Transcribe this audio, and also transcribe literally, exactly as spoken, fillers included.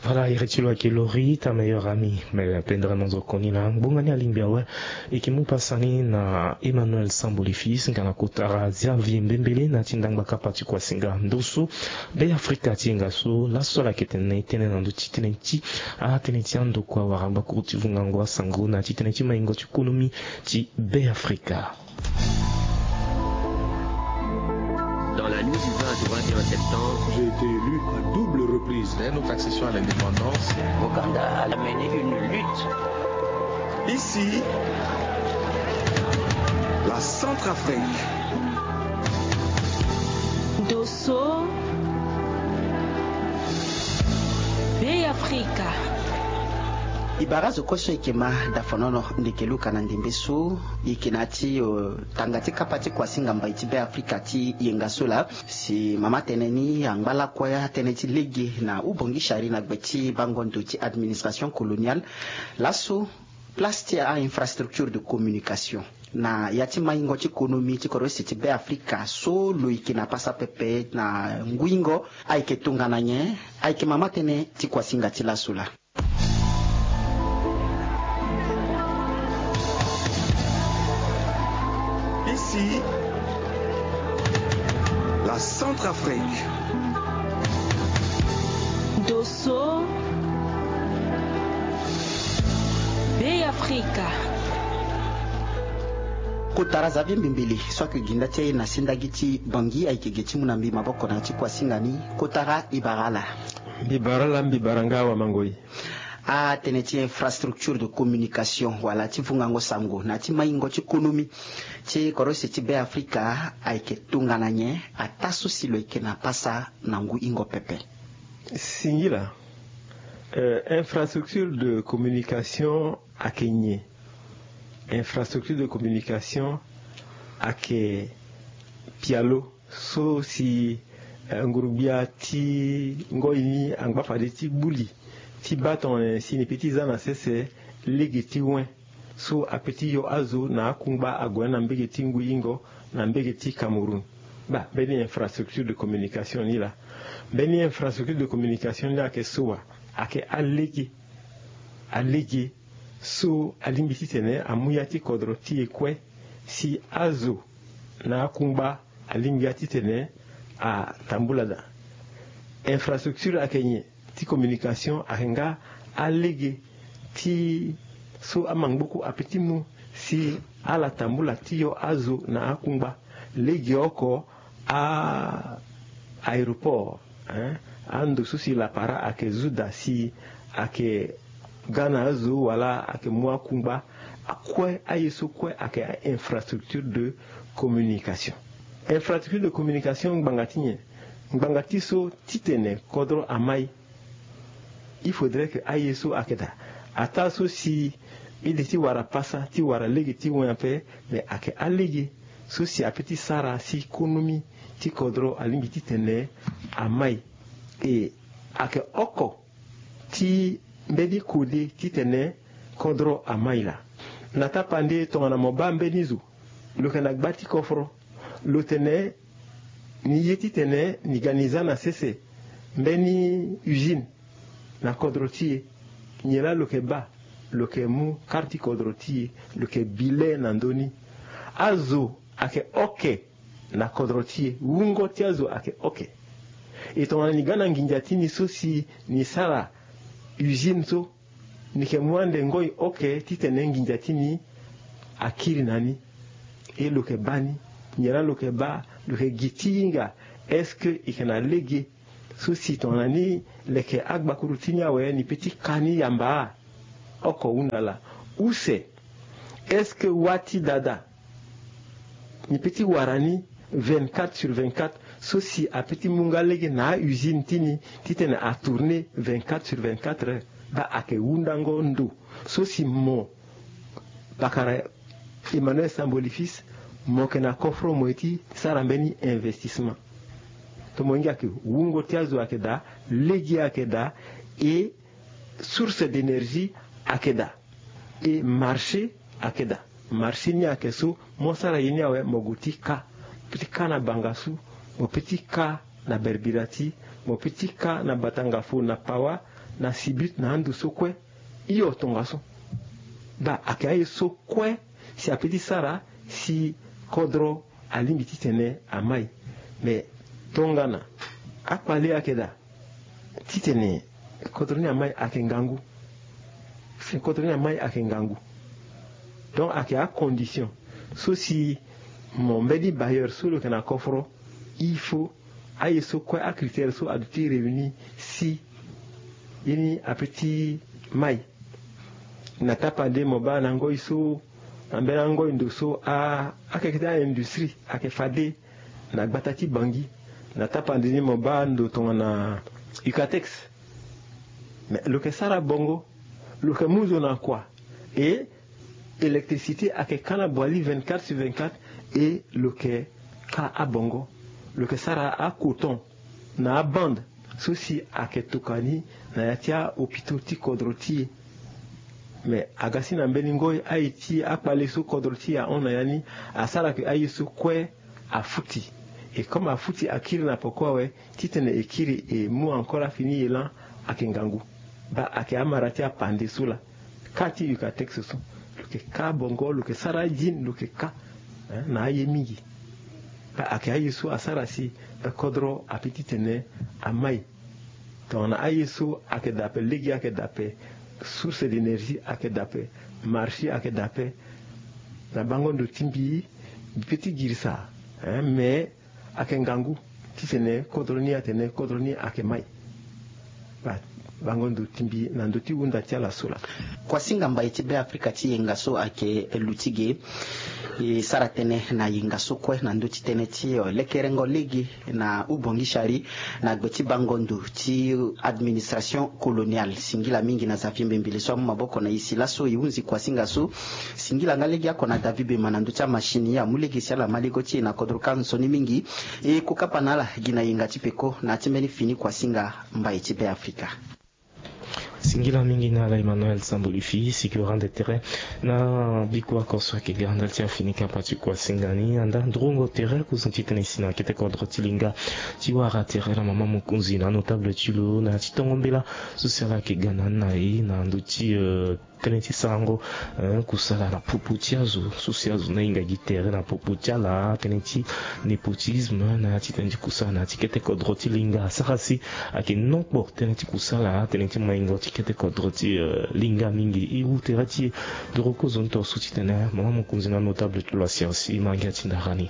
Ala iri ti lo ayeke Lori ta meilleur ami. Me pendere na nzokoni na ngbonga ni alingbi awe. E yeke mu pasa ni na Emmanuel Samboli Fils nga na kota Xavier Mbembele na ti ndangba kapa ti kuasinga ndo so Be Afrika ti yenga so laso ala yeke tene tënë na ndö ti tënë ti atënë ti andokua wala gbakuru ti vungango asango na ti tënë ti maingo ti konomi ti Be Afrika. Dans la nuit du vingt au vingt et un septembre, j'ai été élu à double reprise. Dès notre accession à l'indépendance, Ouganda a mené une lutte. Ici, la Centrafrique. Dosso, Be Afrika. E bara zo kue so e yeke ma dafonono ndeke luka na ndembe so e yeke na ya ti, eh, tanga ti kapa ti kuasinga mbai ti Be Afrika ti yenga so laa. Si mama tënë ni angba lakue atënë ti lege na hubongi sari na gbe ti bango ndo ti administration coloniale. Laso place ti a-infrastructure de communication na ya ti maingo ti konomi ti kodro use ti Be Afrika so lo yeke na pasa pepe na nguingo ayeke tongana nyen? Ayeke mama tënë ti kuasinga ti laso laa. Ici, la Centrafrique. Dosso, Be Afrika. Kotara Xavier Mbembele so ayeke ginda ti aye na sendagi ti Bangui ayeke ge ti mu na mbi maboko na ya ti kuasinga ni. Kotara e bara ala. Mbi bara ala, mbi bara nga awamangoi. Atënë ti infrastructure de communication wala ti vungango sango na ya ti maingo ti konomi ti kodro use ti Be Afrika ayeke tongana nyen? Ataa so si lo yeke na pasa na nguingo pepe. Singila, eh, infrastructure de communication ayeke nyen? Infrastructure de communication ayeke pialo so si, eh, ngurugbia ti ngoi ni angba fade ti gbu li ti baa tongana nyen si ni pe ti za na sese lege ti wen so ape ti yo azo na akungba ague na mbege ti nguingo na mbege ti Cameroun. Baa mbeni infrastructure de communication ni laa. Mbeni infrastructure de communication ni ayeke so wa? Ayeke alege, alege so alingbi titene amu ya ti kodro ti e kue si azo na akungba alingbi ya titene atambula daa. Infrastructure ayeke nyen? Ti communication ayeke nga alege ti so amangboku ape ti mu si ala tambula ti yo azo na akungba. Legeoko a aéroport, hein, ando so si lapara ayeke zu daa si ayeke ga na azo wala ayeke mu akungba. Akue aye so kue ayeke a-infrastructure de communication. Infrastructure de communication ngbanga ti nyen? Ngbanga ti so titene kodro amai. Il faudrait que aye so ayeke daa ataa so si e de ti wara pasa ti wara lege ti wen ape, me ayeke alege so si ape ti sara si konomi ti kodro alingbi titene amai. E ayeke oko ti mbeni kode titene kodro amai laa. Na tapande tongana mo baa mbeni zo lo yeke na gba ti koforo, lo tene ni ye titene ni ga ni za na sese mbeni usine na kodro ti e. Nyen laa lo yeke baa? Lo yeke mu kare ti kodro ti e, lo yeke bi le na ndö ni. Azo ayeke oke na kodro ti e, wungo ti azo ayeke oke. E tongana ni ga na nginza ti ni so si ni sara usine so, ni yeke mu ande ngoi oke titene nginza ti ni akiri na ni. E lo yeke baa ni. Nyen laa lo yeke baa? Lo yeke gi ti hinga. Est-ce que e yeke na lege so si tongana ni leke agbakuru ti ni awe ni pe ti ka ni yamba? Oko hunda laa. Use, est-ce que wâ ti dada ni pe ti wara ni vingt-quatre sur vingt-quatre so si ape ti mu nga lege na a-usine ti ni titene atourner vingt-quatre sur vingt-quatre heures? Baa ayeke hundango ndo so si mo, bakara Emmanuel Samboli Fils, mo yeke na koforo mo ye ti sara mbeni investissement. Tomo hinga ke wungo ti azo ayeke daa, lege ayeke daa, e source d'énergie ayeke daa, e marché ayeke daa. Marché ni ayeke so mo sara ye ni awe, mo gue ti ka, mo pe ti ka na Bangassou, mo pe ti ka na Berbirati, mo pe ti ka na Batangafo, na Pawa, na sibit na ando so kue. Hio tongaso. Baa ayeke aye so kue si ape ti sara si kodro alingbi titene amai. Me tongana akpale ayeke daa titene kodro ni amai ayeke ngangu. Kodro ni amai ayeke ngangu. Donc ayeke acondition so si mo mbeni bailleur so lo yeke na koforo, il faut aye so kue acritère so aduti réuni si ye ni ape ti mai. Na tapande mo baa na ngoi so na mbeni angoi ndo so akeke ti aindustrie ayeke fade na gbata ti bangi. Na tapande ni mo baa ndo tongana ucatex. Me lo yeke sara bongo. Lo yeke mu zo na kua. E électricité ayeke ka na boili vingt-quatre sur vingt-quatre. E lo yeke ka abongo. Lo yeke sara acoton na abande so si ayeke tokua ni na ya ti ahopitaux ti kodro ti e. Me aga si na mbeni ngoi aye ti akpale so kodro ti e ahon na ya ni asara ke aye so kue afuti. E comme afuti akiri na poko awe titene e kiri e mu encore afini e lan ayeke ngangu. Baa ayeke amara ti apande so laa. Ka ti ucatex so lo yeke ka bongo lo yeke sara ajin lo yeke ka na aye mingi. Baa ayeke aye so asara si kodro ape titene amai. Tongana aye so ayeke dape lege ayeke dape source d'énergie ayeke dape marché ayeke dape. Na bango ndo ti mbi mbi pe ti girisa. Me ayeke ngangu titene kodro ni atene kodro ni ayeke mai. Bango ndo ti mbi na ndo ti hunda ti ala so laa. Kuasinga mbai ti Beafrika ti yenga so ayeke luti ge. E sara tënë na yenga so kue na ndö ti tënë ti lekerengo lege na ubongisari na gbe ti bango ndo ti administration coloniale. Singila mingi na Xavier Mbembele so amu maboko na e si laso e hunzi kuasinga so. Singila nga lege oko na David Bema na ndö ti amachine ye amu lege si ala ma lego ti e na kodro ka nzoni mingi. E kokapa na ala gi na yenga ti peko na ya ti mbeni fini kuasinga mbai ti Beafrika. Singila mingi na ala Emmanuel Sambolifi si ke rendre terrain na biko oko so ayeke ga ndali ti afini kapa ti kuasinga ni anda ndrongo terrain kozoni titene e si na kete kodro ti linga ti wara terrain na mama mokonzi na notable ti lo na ya ti tongo mbela so si ala ayeke ga na ni na e na ndö ti tënë ti sarango kusala na popo ti azo so si azo ni ahinga gi tere na popo ti ala tënë ti népotisme na ya ti tënë ti kusala na ya ti kete kodro ti linga asara si ayeke nokpo tënë ti kusala tënë ti maingo ti kete kodro ti linga mingi e wu tere ti e. Ndoro kozoni to so titene mama mokonzi na notable ti lo asiasi ma ngia ti ndara ni.